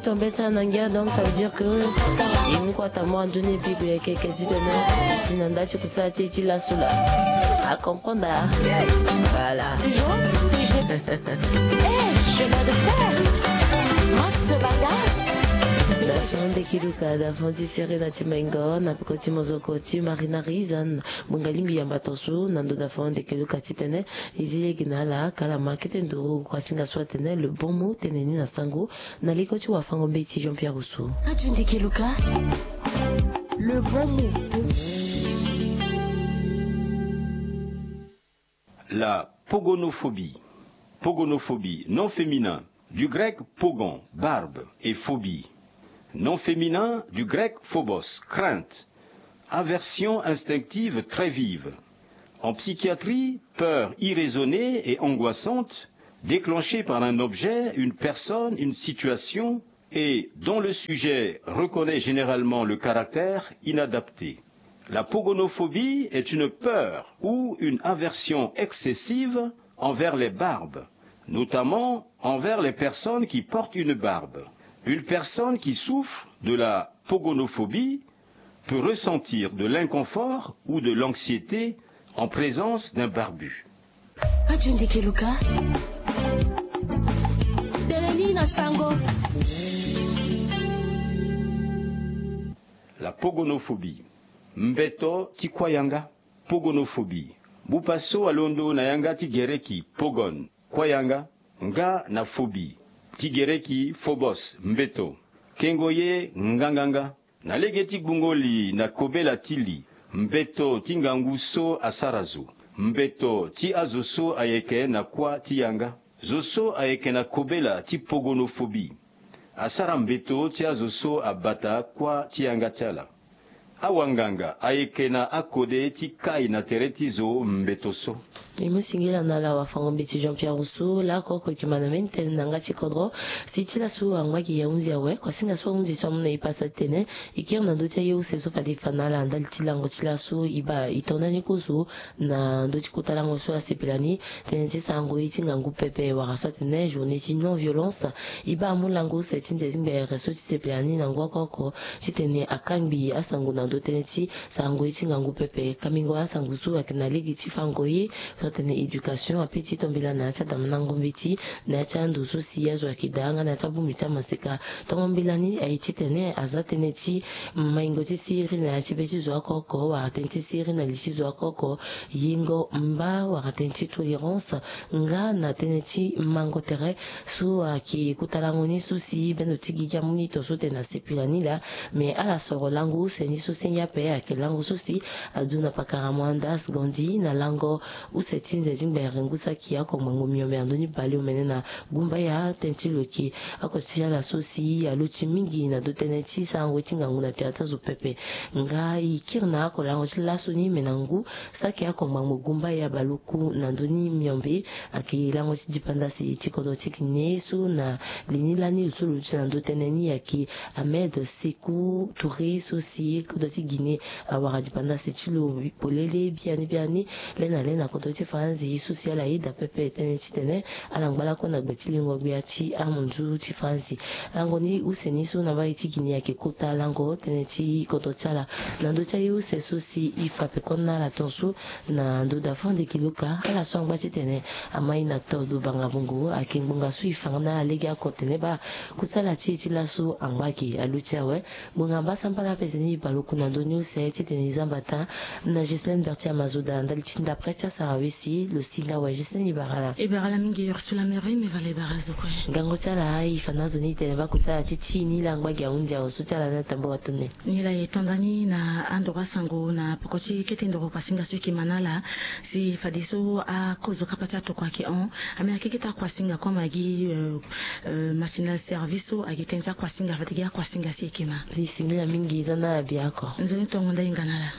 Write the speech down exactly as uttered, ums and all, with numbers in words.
Tombé ça na ngia, donc ça veut dire que il nous croit à moi, nduni bible ya keke ti tene si na nda ti kusala ti ti lasu la. A comprendre. Voilà. Toujours. Eh, je vais de faire. Max Banga. Davant de kiluka, davant ti seri na ti maingo na peko ti mozoko ti Marina Rizan. Bunga lingbi yamba tosu na ndo davant de kiluka ti tene. Izi yege na ala kala ma kete nduru kwa singa so atene le bon mot tene ni na sango. Na leko ti wafango mbeti Jean-Pierre Rousseau. Ka tu ndeke luka. Le bon mot. La pogonophobie. Pogonophobie, nom féminin, du grec pogon, barbe, et phobie. Nom féminin, du grec phobos, crainte. Aversion instinctive très vive. En psychiatrie, peur irraisonnée et angoissante, déclenchée par un objet, une personne, une situation, et dont le sujet reconnaît généralement le caractère inadapté. La pogonophobie est une peur ou une aversion excessive envers les barbes, notamment envers les personnes qui portent une barbe. Une personne qui souffre de la pogonophobie peut ressentir de l'inconfort ou de l'anxiété en présence d'un barbu. Ka tu ndeke luka. Tene ni na sango. La pogonophobie. Mbeto ti kuâ yanga. Pogonophobie. Bupa so alondo na yanga ti gereki pogon, kuâ yanga, nga na phobie ti gereki phobos, mbeto. Kengo ye nganganga. Na lege ti gbungo li na kobela ti li, mbeto ti ngangu so asara zo. Mbeto ti azo so ayeke na kuâ ti yanga. Zo so ayeke na kobela ti pogonophobie asara mbeto ti azo so abata kuâ ti yanga ti ala. Awanganga ayeke na akode ti kai na tere ti zo mbeto so. E mu singila na ala wafango mbeti Jean-Pierre Rousseau, lako oko e yeke ma na mbeni tene na yanga ti kodro. Si ti laso angba gi ya hunzi awe, kuasinga so ahunzi so amu na e pasa ti tene e kiri na ndö ti aye use so fade e fa na ala ndali ti lango ti laso e baa e to ndani kozo na ndö ti kota lango so asepela ni, tënë ti sarango ye ti ngangu pepe wala so atene journée ti non violence. E baa amu lango use ti nze ti ngbere so ti sepela ni na ngu oko oko titene akangbi asango na ndö tënë ti sarango ye ti ngangu pepe. Kambingo asango so ayeke na lege ti fango ye so atene éducation, ape ti to mbela na ya ti adamandango mbeti na ya ti ando so si azo ayeke daa nga na ya ti abongbi ti amaseka. Tongo mbela ni aye titene aza tënë ti maingo ti siriri na ya ti be ti zo oko oko wala tënë ti siriri na li ti zo oko oko. Yengo mba wala tënë ti tolérance nga na tënë ti mango tere so ayeke kota lango ni so si bendo ti gigi amu ni to so tene asepela ni laa. Me ala soro lango use ni so si ngia ape ayeke lango so si adu na pakara Mohandas Gandhi na lango use ti nze ti ngbere ngu saki oko ngbangbo miombe na ndö ni baleomene na gumbaya tënë ti lo yeke oko ti ala so si aluti mingi na ndö tënë ti sarango ti ngangu na tere ti azo pepe. Nga e kiri na oko lango ti laso ni me na ngu saki oko ngbangbo gumbaya baluku na ndö ni miombe ayeke lango ti dipanda si ti kodro ti Guinée so na li ni lani lo so lo luti na ndö tënë ni ayeke Ahmed Sékou Touré so si kodro ti Guinée awara dipanda si ti lo polele biani biani. Le na le na kodro ti Faranzi so si ala yeda pepe tënë titene ala ngba lakue na gbe ti lingo gbia ti amunzu ti Faranzi. Lango ni use ni so na mbage ti Guinée ayeke kota lango tënë ti kodro ti ala na ndö ti aye use so si e fa peko na ala tongaso na ndö dafande kiluka ala so angba titene amai na todo banga bongo ayeke ngbonga so e fa nga na ala lege oko tene baa kusala ti e ti laso angba ge aluti awe. Ngbonga mbasambala ape zeni e bale oku na ndö ni use titene e zamba taa na Ghislaine Bertier Mazoda ndali ti ndapre ti asara wesi lo si nga awe. Ghislaine e bara ala. E bara ala mingi Ursula Mary me vale e bara zo kue. Ngango ti ala e fa na azo ni tene baa kusala ti ti e ni la angba ge ahunzi awe so ti ala ni atambula tone. Ni la e to nda ni na andoro asango na peko ti kete ndoro kuasinga so e yeke ma na ala si fadeso akozo kapa ti atokua ayeke hon. Ame ayeke kete akuasinga kue ma gi, euh, euh, masinal service so ayeke tënë ti akuasinga fade gi akuasinga si e yeke ma. Li singila mingi za na ala bia oko. Nzoni tongo nda hinga na ala.